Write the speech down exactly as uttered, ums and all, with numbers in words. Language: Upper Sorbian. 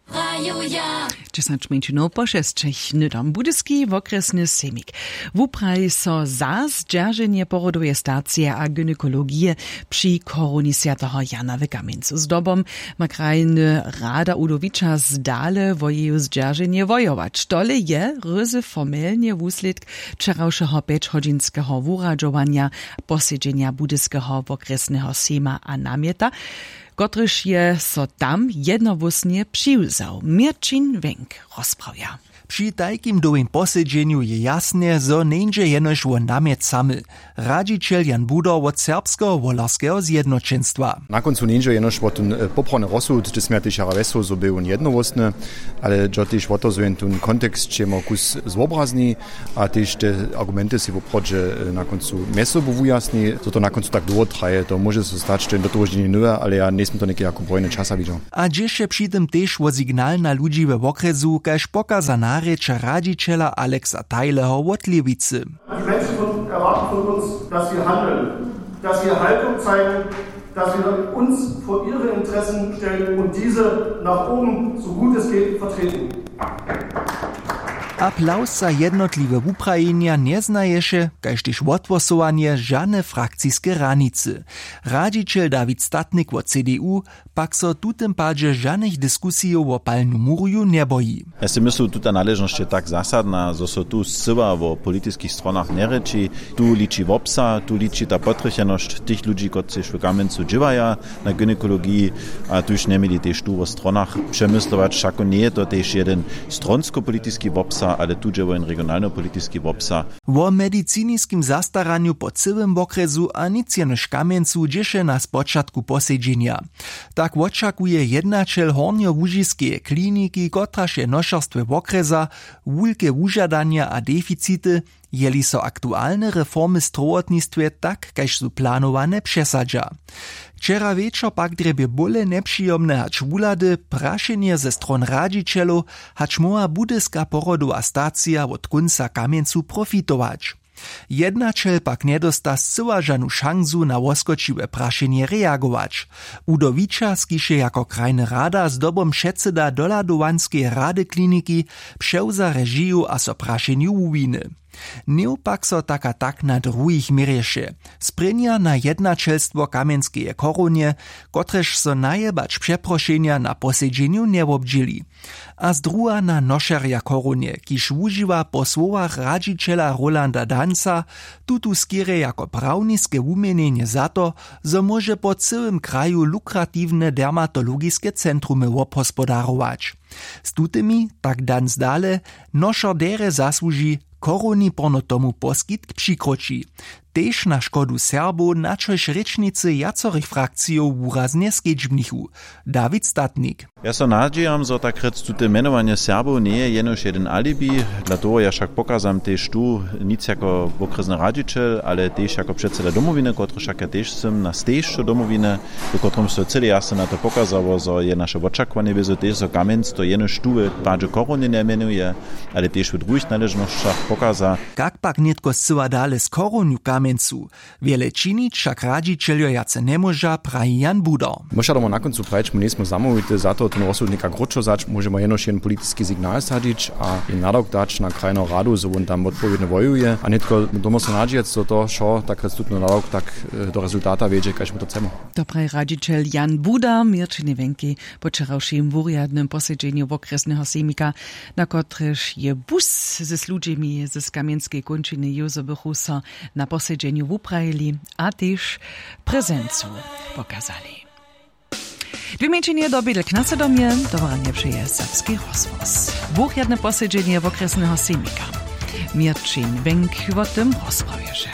Prajuja. Dźesać mjeńšinow po šesćich hnydom budyski wokrjesny sejmik wupraji so za zdźerženje porodoweje stacije a gynekologije při chorowni swjateho Jana w Kamjencu. Zdobom ma krajny rada Udowiča zdale wo jeju zdźerženje wojować. Tole je ryzy formelnje wuslědk wčerawšeho pjećhodźinskeho wuradźowanja posedźenja budyskeho wokrjesneho sejma a namjeta, kotryž je so tam jednohłósnje přiwzał. Měrćin Wenk rozprawja. Při tajkim dołhim posedźenju je jasne, zo njeńdźe jenož wo namjet samy. Radźićel Jan Budor wot Serbskeho wolerskeho zjednoćenstwa. Na kóncu njeńdźe jenož wo tón poprawny rozsud, hdźe směja tež jara wjesło zo bě wón jednohłósny, ale dźo tež wo to zo jen tón kontekst ćemo kus zwobrazni, a tež te argumenty sej woprawdźe na kóncu mjez sobu wujasni. Zo to na kóncu tak dołho traje, to móže so stać, to je do toho ždźenje nowe, ale ja njejsym to něke jako brojny časa widźał. A dźěše při tym tež wo signal na ludźi we wokrjesu, kaž pokaza narěča radźićela Alexa Tajleho wot Lěwicy. Die Menschen von, erwarten von uns, dass wir handeln, dass wir Haltung zeigen, dass wir uns vor ihre Interessen stellen und diese nach oben, so gut es geht, vertreten. Aplaus za jednotliwe wuprajenja njeznaješe, kaž tež wothłosowanje, žane frakciske hranicy. Radźićel Dawid Statnik wot C D U pak so w tutym padźe žanych diskusijow wo palnu murju njeboji. Ja sej myslu, tuta naležnosć je tak zasadna, zo so tu scyła wo politiskich stronach njerěči. Tu liči wobsah, tu liči ta potrjechenosć tych ludźi, kotřiž w Kamjencu dźěłaja na gynekologiji, a tuž njeměli tež tu wo stronach přemyslować. Wšako njeje to tež jedyn stronskopolitiski wobsah, ale tu dźe wo jen regionalnopolitiski wobsah. Wo mediciniskim zastaranju po cyłym wokrjesu a nic jenož Kamjencu dźěše na spočatku posedźenja. Tak wočakuje jednaćel hornjołužiskeje kliniki, kotraž je nošerstwje wokrjesa, wulke wužadanja a deficity, jeli so aktualne reformy w strowotnistwje tak kaž su planowane přesadźa. Wčera wječor pak drjebje bóle njepřijomne hač wuhlady prašenje ze stron radźićelow, hač móhła budyska porodowa stacija wot kónca Kamjencu profitować. Jednaćel pak njedósta scyła žanu šansu na woskočiwe prašenje reagować. Udowiča skiše jako krajny rada zdobom předsyda dohladowanskeje rady kliniki přewza režiju a so prašenju wuwiny. Něw pak so tak a tak na druhich měrješe. Sprěnja na jednaćelstwo kamjenskeje chorownje, kotrež so najebać přeprošenja na posedźenju njewobdźěli. A zdruha na nošerja chorownje, kiž wužiwa po słowach radźićela Rolanda Danca tutu skerje jako prawniske wuměnjenje za to, zo móže po cyłym kraju lukratiwne dermatologiske centrumy wobhospodarować. Z tutymi, tak Danc dale, nošer derje zasłuži, chorowni porno tomu poskitk přikroči. Tež na škodu Serbow, na čož rěčnicy wjacorych frakcijow wuraznje skedźbnichu. Dawid Statnik. Ja so nadźijam, zo tak rjec tute mjenowanje Serbow njeje jenož jedyn alibi. Dla toho ja wšak pokazam tež tu, nic jako wokrjesny radźićel, ale tež jako předsyda Domowiny, kotryž wšak ja tež sym, na stežcu Domowiny, w kotrymž so cyle jasno na to pokazało, zo je naše wočakowanje wězo tež, zo Kamjenc to jenož tu w padźe chorownje njemjenuje, ale tež w druhich naležnosćach pokaza. Kak pak nětko scyła dale z chorownju w Kamjencu? Wjele činić wšak radźićeljo wjace njemóža, praji Jan Budar. Móža domo na kóncu prajić, my njejsmy zamołwity za to, ten rozsudnik krótšo wzać, móžemy jenož jedyn politiski signal sadźić a jim nadawk dać na krajnu radu, zo wón tam wotpowědnje wojuje, a nětko dómy so nadźijec, zo to wšo tak rjec tutón nadawk tak do rezultata wjedźe, kaž my to chcemy. To praji radźićel Jan Budar měrćiny Wenkej po wčerawšim wurjadnym posedźenju wokrjesneho sejmika, na kotrež je bus z ludźemi z kamjenskej kónčiny józebychu so na posedźenju wuprajili a tež prezencu pokazali. Dwě mjeńšinje do bědel k nasedomje. Dowaranje přeje serbski rozhłos. Wurjadne posedźenje wokrjesneho sejmika. Měrćin Wenk wo tym rozprawješe.